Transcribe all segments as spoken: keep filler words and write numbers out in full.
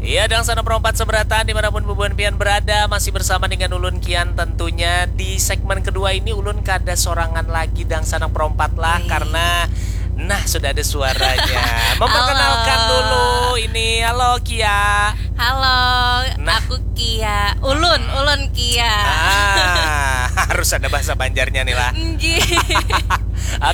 Ya, Dangsanak Perompat seberataan dimanapun bubuhan pian berada, masih bersama dengan ulun Kian tentunya. Di segmen kedua ini ulun kada sorangan lagi Dangsanak Perompat lah, karena nah sudah ada suaranya. Memperkenalkan dulu ini. Halo Kia. Halo, nah. Aku Kia. Ulun, ulun Kia. Ah, harus ada bahasa Banjarnya nih lah.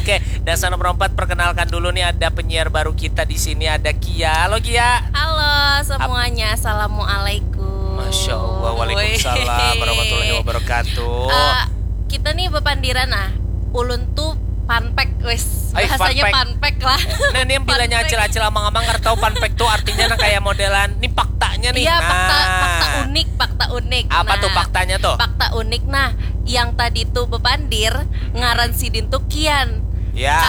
Oke, Dangsanak Perompat, perkenalkan dulu nih, ada penyiar baru kita di sini, ada Kia. Halo Kia. Halo semuanya, assalamualaikum. Masya Allah, waalaikumsalam warahmatullahi wabarakatuh. Uh, kita nih bepandiran nah, ulun tuh panpek, wes, bahasanya panpek lah. Nah, ini yang bilanya acil-acil amang-amang nggak tahu panpek tuh artinya, nah, kayak modelan ini faktanya nih. Iya, fakta, fakta unik, fakta unik. Apa tuh faktanya tuh? Fakta unik, nah, yang tadi tuh bepandir ngaran sidin tuh Kian. Ya. K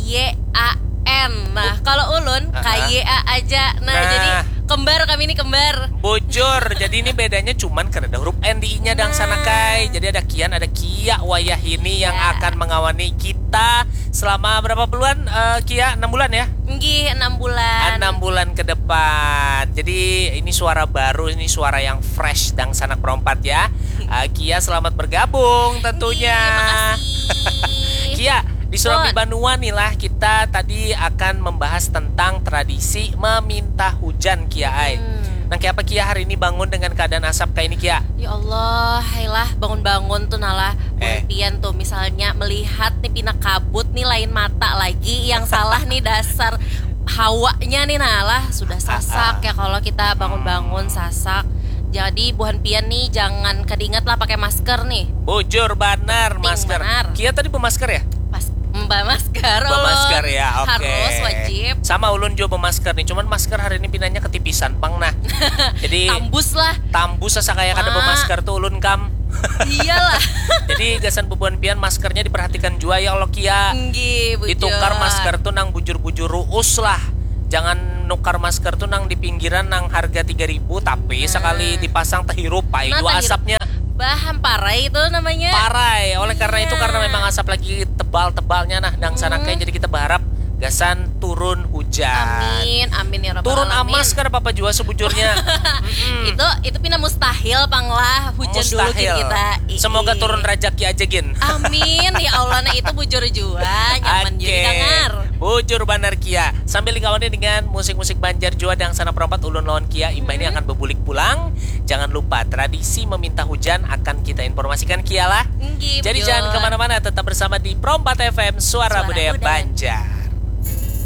Y A N. Nah, kalau ulun K Y A aja. Nah, jadi kembar kami ini, kembar. Bujur. Jadi ini bedanya cuman karena ada huruf N di I-nya, Dangsanak ai. Jadi ada Kian, ada Kia wayah ini yang akan mengawani kita selama berapa bulan, eh, Kia? Enam bulan ya? Nggih, enam bulan. Enam bulan ke depan. Jadi ini suara baru, ini suara yang fresh, Dangsanak Perompat ya. Eh, Kia, selamat bergabung tentunya. Nggih, makasih. Kia, di Surambi Banua nih lah, kita tadi akan membahas tentang tradisi meminta hujan, Kia ai. Hmm. Nang kaya apa Kia hari ini bangun dengan keadaan asap kayak ini, Kia? Ya Allah, hai lah, bangun-bangun tuh nah lah. Eh. Pian tuh misalnya melihat nih pina kabut nih, lain mata lagi yang salah nih, dasar hawanya nih nah lah, sudah sasak ya kalau kita bangun-bangun sasak. Jadi buhan pian nih jangan kada ingat lah pakai masker nih. Bujur banar, masker. Kia tadi bemasker ya? Pas bemasker. Bemasker ya, oke. Harus, wajib. Sama ulun juga bemasker nih, cuman masker hari ini pinanya ketipisan pang nah. Jadi tambus lah. Tambus asa kayak kada bemasker tuh ulun, kam. Iyalah. Jadi gasan bubuhan pian, maskernya diperhatikan jua ya Allah, Kia. Nggih, bujur. Ditukar masker tuh nang bujur-bujur ruus lah. Jangan nukar masker tuh nang di pinggiran nang harga tiga ribu, tapi sekali dipasang tehirup ai jua asapnya. Bah, hamparai itu namanya. Parai. Oleh karena itu, karena memang asap lagi tebal-tebalnya nah, Dangsanak ai, jadi kita berharap gasan turun hujan. Amin, amin ya rabbal alamin. Turun amas kada apa-apa jua sebujurnya. Itu, itu pina mustahil pang lah, hujan dulu gin kita. Semoga turun rajaki aja gin. Amin ya Allah. Nah, itu bujur jua, nyaman jua didangar. Bujur banar, Kia. Sambil dikawani dengan musik-musik Banjar jua, Dangsanak Perompat, ulun lawan Kia imbah ini akan bebulik pulang. Jangan lupa, tradisi meminta hujan akan kita informasikan, Kia lah. Jadi jangan kemana-mana, tetap bersama di Perompat F M, Suara Budaya Banjar.